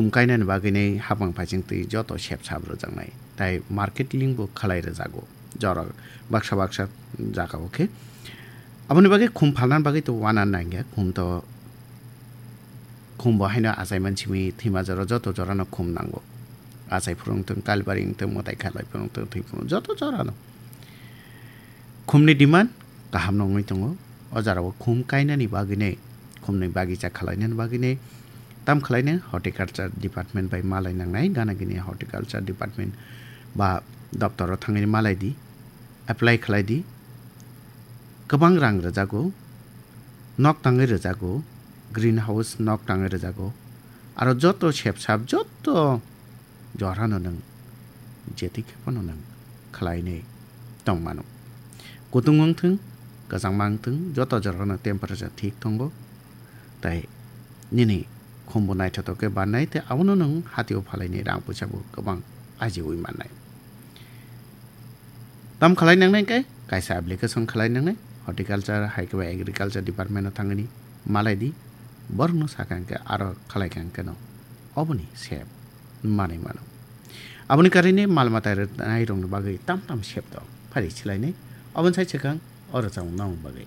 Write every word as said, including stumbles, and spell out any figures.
Khum kainani bagwinai hapang phaising twi joto sep sap rwjaknai. Tai marketing bo khalai rwjago. Jora baksa baksa jagao khe. Aboni bagwi khum phalna bagwi to wana nangya. Khum to, khum bo haino achai mansimi thwima jora joto jorano khum nango. Achai phuru wngthung, kalbari wngthung, mwtai khalai phuru wngthung, thwi phuru joto jorano. Khumni demand kaham no wngwi tongo. O jora o khum kainani bagwinai, khumni bagisa khalainani bagwinai, tam khalainai horticulture department bai malai nangnai, gana gini horticulture department ba doptoro thangwi malai di, apply khalai di. Kwbang rang rwjago, nok tangwi rwjago, green house nok tangwi rwjago. Aro joto sep sap, joto jorano nwng je twi khe phano nwng khlainai tong mano. Kutung wng thung, kwchangma wng thung, joto jorano temperature thik tongo. Tai nini khumbo naithotok khe bannai, tei abono nwng hatio phalainai rang puisa bo kwbang ajiui mannai. Tam khalai nangnai khe kaisa application khalai nangnai, horticulture hai khe ba agriculture department o thangwi malai di, borokno sakha hwnkhe aro khalai kha hwnkhe no oboni sep manwi mano. Aboni karwi mal mata rwnai rokni bagwi tam tam sep tong phari silainai, oboni sai swkang o rwchapmung nang bagwi.